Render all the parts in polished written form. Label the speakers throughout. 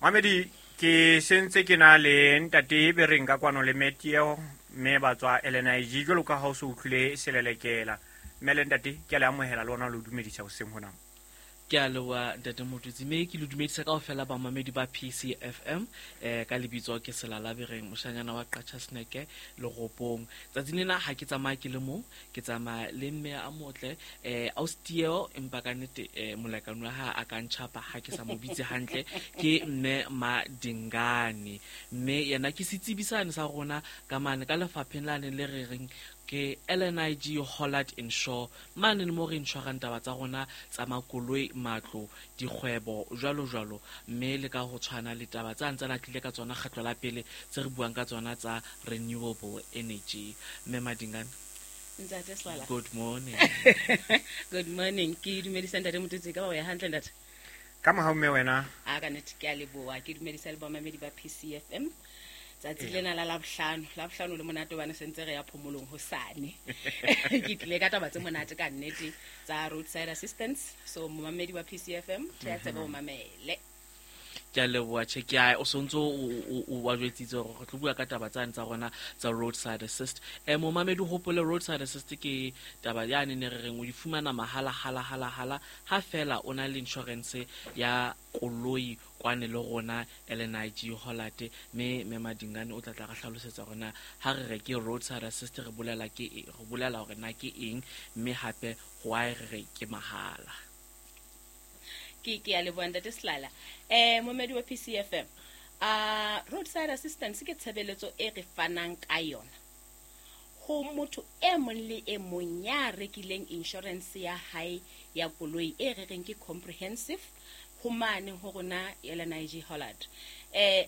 Speaker 1: Mamedi, ke sentse ke na le ntate Bereng ka kwano le Metieo, mme ba tswa LNIG jwalo ka ha o se utlwile selelekela. Mme le ntate, ke a le amohela le ona le o dumedisa hoseng hona.
Speaker 2: Ke a leboha ntate Motutsi, mme ke le dumedisa kaofela bamamedi ba PCFM. Ka lebitso ke Selala Bereng, moshanyana wa Qachaseneke Leropong. Tsatsing lena ha ke tsamaya ke le mong, ke tsamaya le mme a motle, ausi empa ka nnete molekane wa hae a ka ntjhapa ha ke sa mo bitse hantle, ke mme Madingane. Mme yena ke setsebi sane sa rona ka mane ka lefapheng lane le re reng ke LNIG Hollard Insure, mane le mo re insurang taba tsa rona tsa makoloi, matlo, dikgwebo, jwalo jwalo. Mme le ka ho tshwana le taba tsa ntse na tlile ka tsona kgetlo la pele tse re buang ka tsona tsa renewable energy. Mme Madingane,
Speaker 3: Ntate Selala.
Speaker 2: Good morning.
Speaker 3: Good morning. Ke dumedisa ntate Motutsi, ka ba o ya hantle ntate?
Speaker 1: Ka mohau mme wena.
Speaker 3: A ka nnete ke a leboha. Ke dumedisa le bamamedi ba PCFM. Tsatsi lena la Labohlano, Labohlano le monate hobane se ntse re ya phomolong hosane. Ke tlile ka taba tse monate ka nnete tsa roadside assistance. So momamedi wa PCFM, theha tsebe o mamele.
Speaker 2: Ke a leboha, tjhe, ke a o sontso o wa jwetsitse hore re tlo bua ka taba tsane tsa rona tsa roadside assist. Momamedi o hopole roadside assist ke taba yane ne re reng o di fumana mahala hala hala hala ha fela o na le insurance ya koloi kwane le rona LNIG Hollard. Mme mme Madingane o tla tla re hlalosetsa hore na ha re re ke roadside assist re bolela ke e, re bolela hore na ke eng, mme hape why re re ke mahala.
Speaker 3: Ke a leboha ntate Selala. Momedi wa PCFM, roadside assistance ke tshebeletso e re fanang ka yona ho motho e mong le e mong ya rekileng insurance ya hae ya koloi e re reng ke comprehensive ho mane ho rona LNIG Hollard.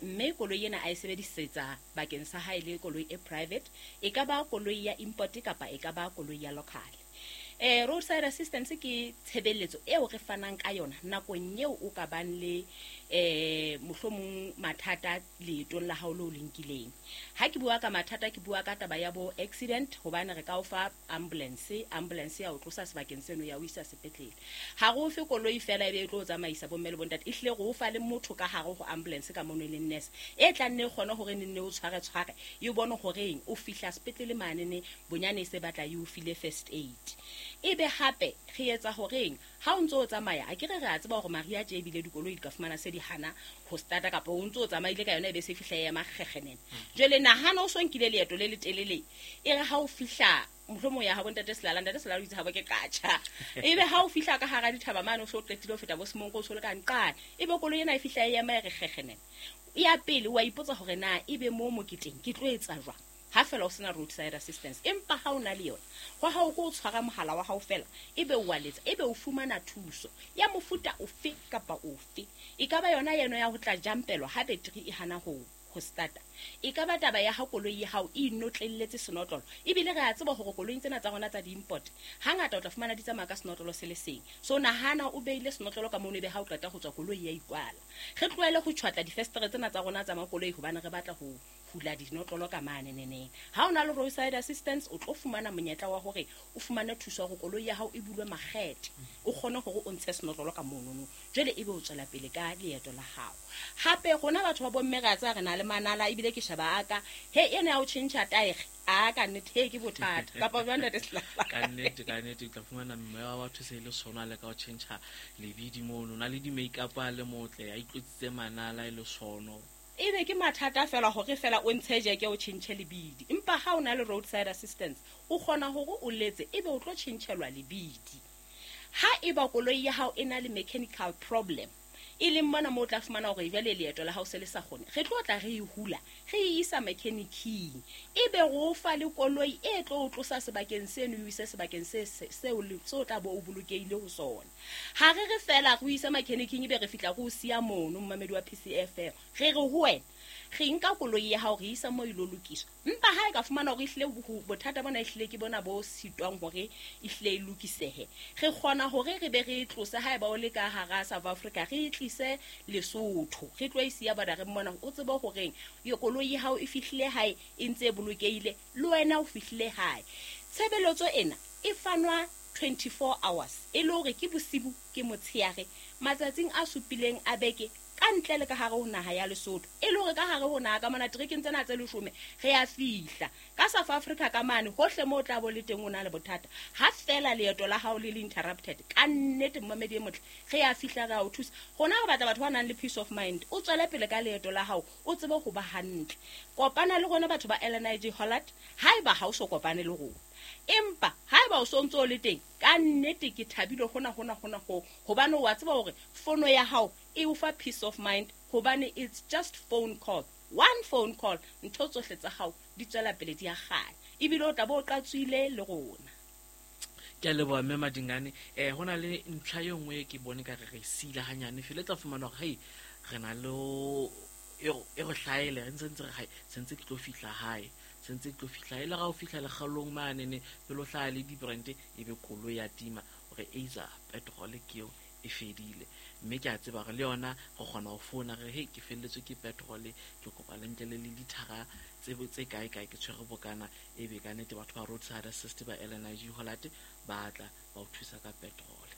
Speaker 3: Mme koloi ena a e sebedisetsa bakeng sa hae le koloi e private, e ka ba koloi ya import kapa e ka ba koloi ya local. Roadside assistance ke tshebeletso eo re fanang ka yona nakong eo o ka bang le mohlomong mathata leetong la hao le o le nkileng. Ha ke bua ka mathata, ke bua ka taba ya bo accident, hobane re ka o fa ambulance, ambulance ya o tlosa sebakeng seno ya o isa sepetlele. Ha re o fe koloi fela ebe e tlo o tsamaisa bomme le bontate, ehlile re o fa le motho ka hare ho ambulance ka mono e leng nurse e tla nne e kgone hore ne nne o tshware tshware, e bone horeng o fihla sepetlele mane ne bonyane e se batla e o file first aid. Ebe hape re etsa horeng ha o ntso o tsamaya, a ke re re a tseba hore mariha tje ebile dikoloi di ka fumana se di hana ho starta, kapa o ntso o tsamaile ka yona ebe se fihla e ema kgekgenene. Jwale nahana o so nkile leeto le letelele, e re ha o fihla mohlomong ya habo ntate Selala, ntate Selala o itse habo ke qatjha. Ebe ha o fihla ka hara dithaba mane o so qetile ho feta bo Semonko, o so le ka nqane, ebe koloi ena e fihla e ema e re kgekgenene. Ya pele wa ipotsa hore na ebe mo moketeng ke tlo etsa jwang ha fela o sena roadside assistance. Empa ha o na le yona, hwa hao ke o tshwara mohala wa hao fela, ebe o wa letsa, ebe o fumana thuso ya mofuta ofe kapa ofe. E ka ba yona eno ya ho tla jumpelwa ha battery e hana ho starta. E ka ba taba ya ha koloi ya hao e inotlelletse senotlolo. Ebile re a tseba hore koloing tsena tsa rona tsa di-import, hangata o tla fumana di tsamaya ka senotlolo se le seng. So nahana o beile senotlolo ka mono, ebe ha o qeta ho tswa koloi ya ikwala. Re tlohele ho tjhwatla difestere tsena tsa rona tsa makoloi hobane re batla ho hula dinotlolo ka mane neneng. Ha o na le roadside assistance, o tlo fumana monyetla wa hore o fumane thuso ya hore koloi ya hao e bulwe makgethe, o kgone hore o ntshe senotlolo ka monono, jwale ebe o tswela pele ka leeto la hao. Hape rona batho ba bomme re a tseba re na le manala, ebile ke sheba a ka he ena ya ho tjhentjha taere, a ka nnete he ke bothata kapa jwang ntate Selala?
Speaker 2: Ka nnete, ka nnete o tla fumana mme wa batho se le sona le ka ho tjhentjha lebidi mono, o na le di-makeup a le motle, a itlotsitse manala e le sono.
Speaker 3: Ebe ke mathata fela hore fela o ntshe jeke o tjhentjhe lebidi. Empa ha o na le roadside assistance, o kgona hore o letse ebe o tlo tjhentjhelwa lebidi. Ha eba koloi ya hao e na le mechanical problem, e leng mona moo o tla fumana hore jwale leeto la hao se le sa kgone, re tlo tla re e hula, re e isa mechanic-ing, ebe re o fa le koloi e tlo o tlosa sebakeng seno e o ise sebakeng seo o tla bo o bolokehile ho sona. Ha re re fela re o ise mechanic-ing ebe re fihla re o siya mono momamedi wa PCFM, re re ho wena re nka koloi ya hao re isa moo e lo lokiswa. Empa ha e ka fumana hore ehlile bothata bona ehlile ke bona bo sitwang hore ehlile e lokisehe, re kgona hore re be re e tlose ha eba o le ka hara South Africa, re e tlise Lesotho, re tlo e siya bordereng mona, o tsebe horeng koloi ya hao e fihlile hae e ntse e bolokehile, le wena o fihlile hae. Tshebeletso ena e fanwa 24 hours, e le hore ke bosibu ke motshehare, matsatsing a supileng a beke, ka Ka ntle le ka hare ho naha ya Lesotho, e le hore ka hare ho naha ka mona terekeng tsena tse 10 re a fihla. Ka South Africa ka mane hohle moo tla bo le teng o na le bothata. Ha fela leeto la hao le le interrupted, ka nnete mmamedi e motle, re a fihla re a o thusa. Rona re batla batho ba nang le peace of mind. O tswele pele ka leeto la hao, o tsebe ho ba hantle. Kopana le rona batho ba LNIG Hollard, haeba ha o so kopane le rona. Empa haeba o so ntso o le teng, ka nnete ke thabile hona hona hona ho, hobane o a tseba hore fono ya hao e o fa peace of mind, hobane it's just phone call, one phone call, ntho tsohle tsa hao di tswela pele di a kganya, ebile o tla bo o qatswile le rona.
Speaker 2: Ke a leboha mme Madingane. Ho na le ntlha e nngwe ke bone ka re re sila hanyane fela, e tla fumana hore hei re na le e re hlaele, re ntse re hai sentse ke tlo fihla hae, sentse ke tlo fihla e le ga o fihla lekgalong mane ne pele o hlaha le di-brand e be koloi ya tima, hore eiza petrol ke eo e fedile. Mme ke a tseba hore le yona re kgona ho founa re hei ke felletswe ke petrol, ke kopa le ntle le lithara tse kae kae, ke tshwere bokana, e be ka nnete batho ba roadside assist ba LNIG Hollard ba tla ba o thusa ka petrol.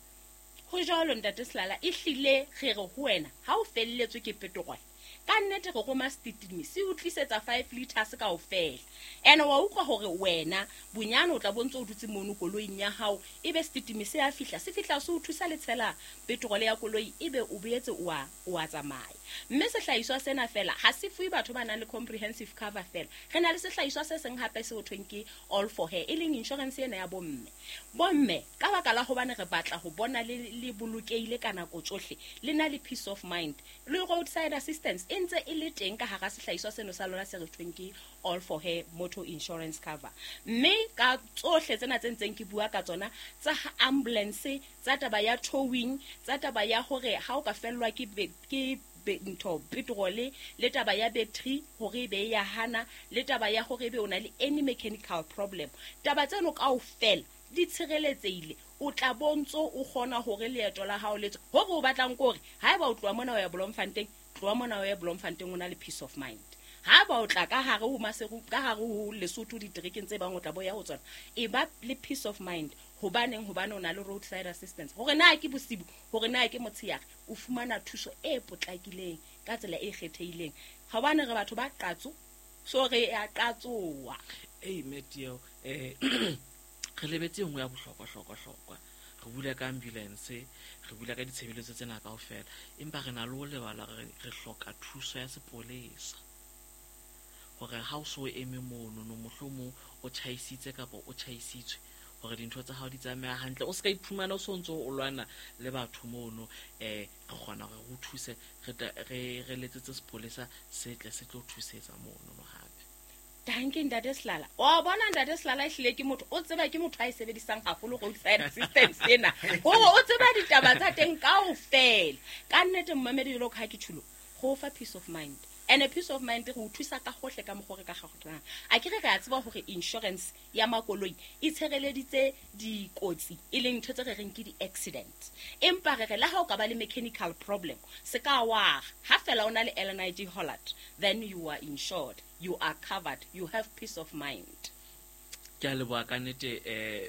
Speaker 3: Ho jwalo ntate Selala, e hlile re re ho wena ha o felletswe ke petrol, ka nnete re roma setitimi se o tlisetsa 5 liters kaofela. Ene wa utlwa hore wena bonyane o tla bo ntse o dutse mono koloing ya hao, ebe setitimi se a fihla, se fihla se o thusa le tshela petrol ya koloi, ebe o boetse o a tsamaya. Mme sehlahiswa sena fela ha se fuwe batho ba nang le comprehensive cover fela. Re na le sehlahiswa se seng hape se ho thweng ke all for her, e leng insurance ena ya bomme. Bomme ka baka la hobane re batla ho bona le bolokehile ka nako tsohle, le na le peace of mind, le roadside assistance e ntse e le teng ka hara sehlahiswa seno sa lona se re thweng ke all for her motor insurance cover. Mme ka tsohle tsena tse ntseng ke bua ka tsona, tsa ambulance, tsa taba ya towing, tsa taba ya hore ha o ka fellwa ke ntho petrol, le taba ya battery hore e be ya hana, le taba ya hore ebe o na le any mechanical problem, taba tseno kaofela di tshireletsehile. O tla bontso o kgona hore leeto la hao le tswe. Hore o batlang ke hore haeba o tloha mona o ya Bloemfontein, tloha mona o ya Bloemfontein o na le peace of mind. Haeba o tla ka hare ho Maseru, ka hare ho Lesotho diterekeng tse bang o tla boya ho tsona, e ba le peace of mind. Hobaneng? Hobane o na le roadside assistance. Hore na ke bosibu, hore na ke motshehare, o fumana thuso e potlakileng ka tsela e kgethehileng. Hobane re batho ba qatso, so re a qatsoa.
Speaker 2: Ei Matthew, re lebetse nngwe ya bohlokwa hlokwa hlokwa. Re bula ka ambulance, re bula ka ditshebeletso tsena kaofela, empa re na le ho lebala re hloka thuso ya sepolesa. Hore ha o so eme mono no mohlomong o tjhaisitse kapa o tjhaisitswe, hore dintho tsa hao di tsamaya hantle, o ska iphumana o sontso o lwana le batho mono. Re kgona hore re o thuse, re letsetse sepolesa se tle se tlo thusetsa mono no hape.
Speaker 3: Danke ntate Selala. Wa bona ntate Selala e hlile ke motho, o tseba ke motho a e sebedisang haholo roadside assistance ena. Hore o tseba ditaba tsa teng kaofela. Ka nnete mmamedi jwalo ka ha ke tjhulo, go fa peace of mind. And a peace of mind re o thusa ka hohle ka mokgwa re ka kgonang. A ke re re a tseba hore insurance ya makoloi e tshireleditse dikotsi, e leng ntho tse re reng ke di-accident. Empa re re le ha o ka ba le mechanical problem, se ka wa ha fela o na le LNIG Hollard, then you are insured, you are covered, you have peace of mind.
Speaker 2: Ke a leboha ka nnete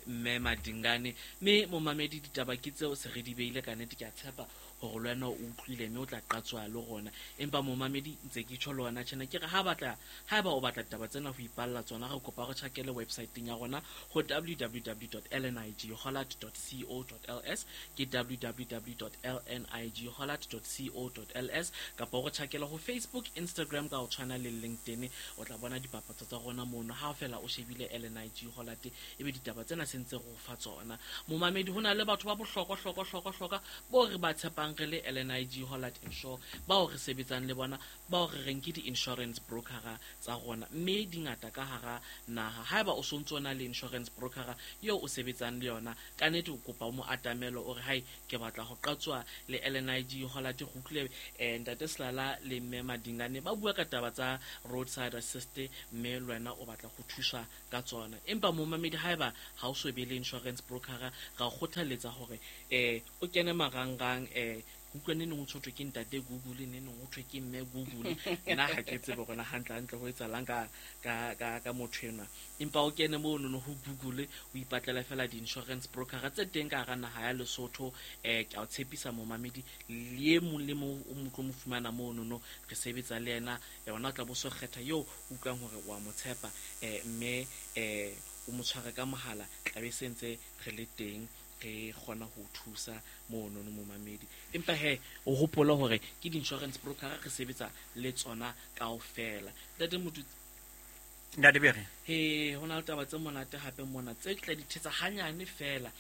Speaker 2: mme Madingane. Mme momamedi ditaba ke tseo se re di beile ka nnete, ke a tshepa hore le wena o utlwile mme o tla qatswa le rona. Empa momamedi ntse ke tjho le wena tjena, ke re haeba o batla ditaba tsena ho ipalla tsona, re kopa re tjhakele website-eng ya rona ho www.lnighollard.co.ls, ke www.lnighollard.co.ls, kapa o re tjhakele ho Facebook, Instagram ka ho tshwana le LinkedIn. O tla bona dipapatso tsa rona mono ha fela o shebile LNIG Hollard, ebe ditaba tsena se ntse re o fa tsona. Momamedi, ho na le batho ba bohlokwa hlokwa hlokwa hlokwa bo re ba tshepang re le LNIG Hollard Insure, bao re sebetsang le bona, bao re reng ke di-insurance brokera tsa rona, mme di ngata ka hara naha. Haeba o sontso o na le insurance brokera eo o sebetsang le yona, ka nnete o kopa o mo atamelo, o re hai ke batla ho qatswa le LNIG Hollard. Go utlwile ntate Selala le mme Madingane ba bua ka taba tsa roadside assist, mme le wena o batla ho thuswa ka tsona. Empa momamedi, haeba ha o so be le insurance brokera, ra o kgothaletsa hore o kene marangrang Utlwa ne neng o tshotwe ke ntate Google, ne neng o thwe ke mme Google. Nna ha ke tsebe hore na hantle ho etsahalang ka motho enwa. Empa o kene mono no ho Google, o ipatlela fela di-insurance broker tse teng ka hara naha ya Lesotho. Ke a o tshepisa momamedi, le e mong le mong o mo tlo mo fumana mono no, re sebetsa le yena. Ona o tla bo so kgetha eo utlwang hore wa mo tshepa, mme o mo tshware ka mohala, tlabe se ntse re le teng re kgona ho thusa mono no momamedi. Empa he o hopola hore ke di-insurance broker re sebetsa le tsona kaofela. Ntate Motutsi,
Speaker 1: Ntate Bere,
Speaker 2: he ho na le taba tse monate hape mona tse tla di thetsa hanyane fela.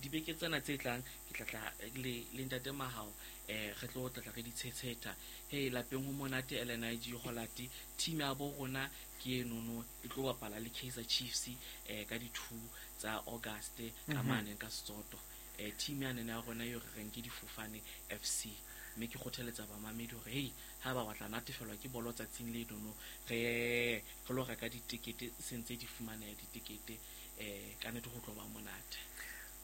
Speaker 2: Dibeke tsena tse tlang ke tla le ntate Mahao, re tlo tla re di tshetsheta. He lapeng ho monate LNIG Holati, team ya bo rona ke enono e tlo bapala le Kaizer Chiefs ka di 2 tsa August ka mane ka Setsotho. Team ya nene ya rona eo re reng ke Difofane FC. Mme ke kgothaletsa bamamedi hore hei ha ba batla natefelwa ke bolo tsatsing le nono, re lo reka ditekete se ntse di fumaneha ditekete, ka nnete ho tlo ba monate.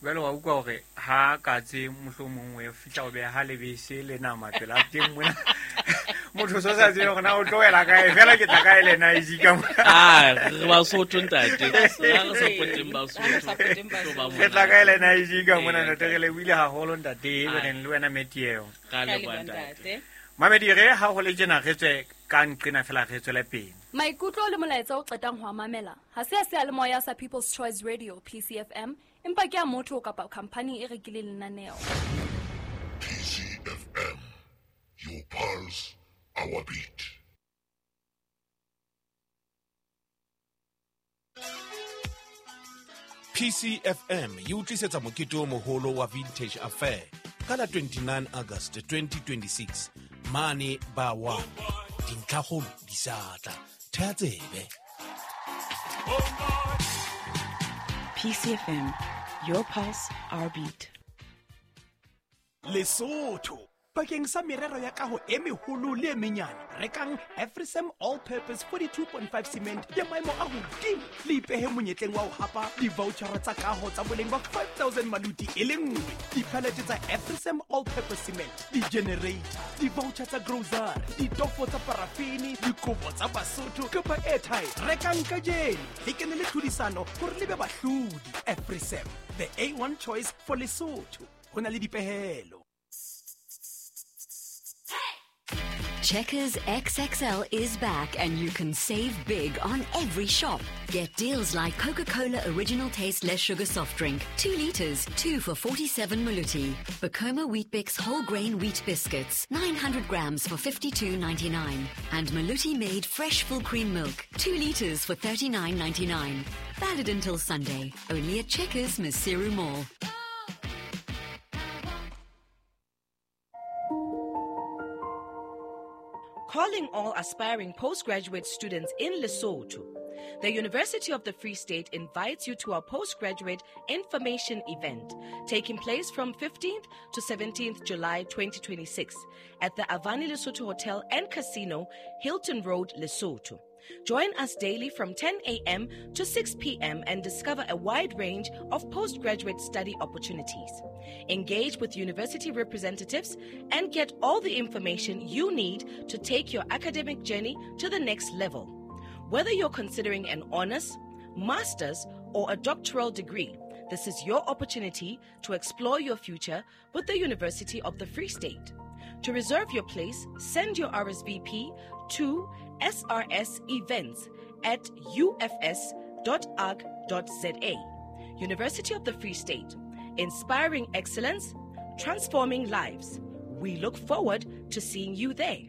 Speaker 1: Jwale wa utlwa hore ha katse mohlomong o fihla o beha lebese le nama pela teng mona. Motho so sa tsebe hore na o tlohela kae, fela ke tla kae le na e ka mona.
Speaker 2: Re Basotho ntate. Re supporteng Basotho.
Speaker 1: Re tla kae le na e ka mona ntate, re lebohile haholo ntate, re le wena Metieo.
Speaker 2: Ka leboha ntate.
Speaker 1: Mamedi re ha ho le tjena re tswe ka nqena fela re tswele pele.
Speaker 4: Maikutlo le molaetsa o qetang ho mamela ha se a seyalemoya sa People's Choice Radio PCFM, empa ke a motho kapa company e rekileng lenaneo.
Speaker 5: PCFM, your pulse, our beat.
Speaker 6: PCFM e utlisetsa mokete o moholo wa Vintage Affair ka la 29 August 2026 mane ba wa dintlhakgolo di sa tla. Thea tsebe.
Speaker 7: PCFM, your pulse, our beat.
Speaker 8: Lesotho bakeng sa merero ya kaho e meholo le e menyane, rekang Afrisem All Purpose 42.5 cement ya maemo a hodimo, le ipehe monyetleng wa ho hapa di-vouchera tsa kaho tsa boleng ba 5000 maluti e le nngwe, di-pallet tsa Afrisem All Purpose cement, di-generator, di-voucher tsa grocery, ditofo tsa parafini, dikobo tsa Basotho kapa airtime. Rekang kajeno le kene le tlhodisano hore le be bahlodi. Afrisem, the A1 choice for Lesotho. Ho na le dipehelo.
Speaker 9: Checkers XXL is back and you can save big on every shop. Get deals like Coca-Cola Original Taste Less Sugar Soft Drink, 2 liters, 2 for 47 Maluti. Bacoma Weet-Bix Whole Grain Wheat Biscuits, 900 grams for 52.99. And Maluti Made Fresh Full Cream Milk, 2 liters for 39.99. Valid until Sunday, only at Checkers Maseru Mall.
Speaker 7: Calling all aspiring postgraduate students in Lesotho. The University of the Free State invites you to our postgraduate information event taking place from 15th to 17th July 2026 at the Avani Lesotho Hotel and Casino, Hilton Road, Lesotho. Join us daily from 10 a.m. to 6 p.m. and discover a wide range of postgraduate study opportunities. Engage with university representatives and get all the information you need to take your academic journey to the next level. Whether you're considering an honors, master's, or a doctoral degree, this is your opportunity to explore your future with the University of the Free State. To reserve your place, send your RSVP to srsevents@ufs.org.za. University of the Free State, inspiring excellence, transforming lives. We look forward to seeing you there.